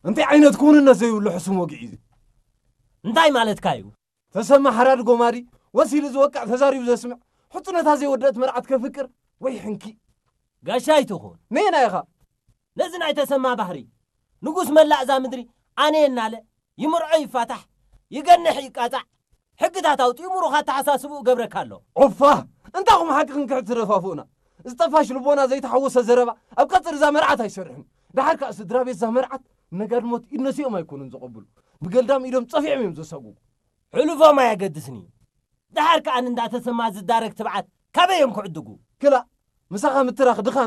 እንታይ ዓይነት ክውንነት ዘይብሉ ሕሱም ወግዒ እዩ። እንታይ ማለትካ እዩ? ተሰማ ሓራዲ ጎማዲ፣ ወሲሉ ዝወቅዕ ተዛሪቡ ዘስምዕ፣ ሕጹነታ ዘይወደአት መርዓት ከፍቅር ወይ ሕንኪ። ጋሻ ይትኹን። ነየና ኢኻ? ነዚ ናይ ተሰማ ባህሪ፣ ንጉስ መላእ እዛ ምድሪ ኣነ እናለ፣ ይምርዖ ይፋታሕ፣ ይገንሕ ይቃጻዕ፣ ሕግታት ኣውጺኡ ምሩኽ ኣተሓሳስብኡ ገብረካ ኣሎ። ኦፋ! እንታኹም ሓቂ ክንክሕድ ትደፋፍኡና? ዝጠፋሽ ልቦና ዘይተሓወሰ ዘረባ ኣብ ቀጽሪ እዛ መርዓት ኣይሰርሕን። ደሓር ከኣ ስድራ ቤት እዛ መርዓት ነጋድሞት ኢድ ነሲኦም ኣይኮኑን ዘቐብሉ። ብገልዳም ኢዶም ጸፊዖም እዮም ዘሰጉ። ሕሉፎም ኣየገድስን እዩ። ደሓር ከኣ ንእንዳ ተሰማ ዝዳረግ ትብዓት ካበይ እዮም ክዕድጉ? ክላእ፣ ምሳኻ ምትራኽ ድኻም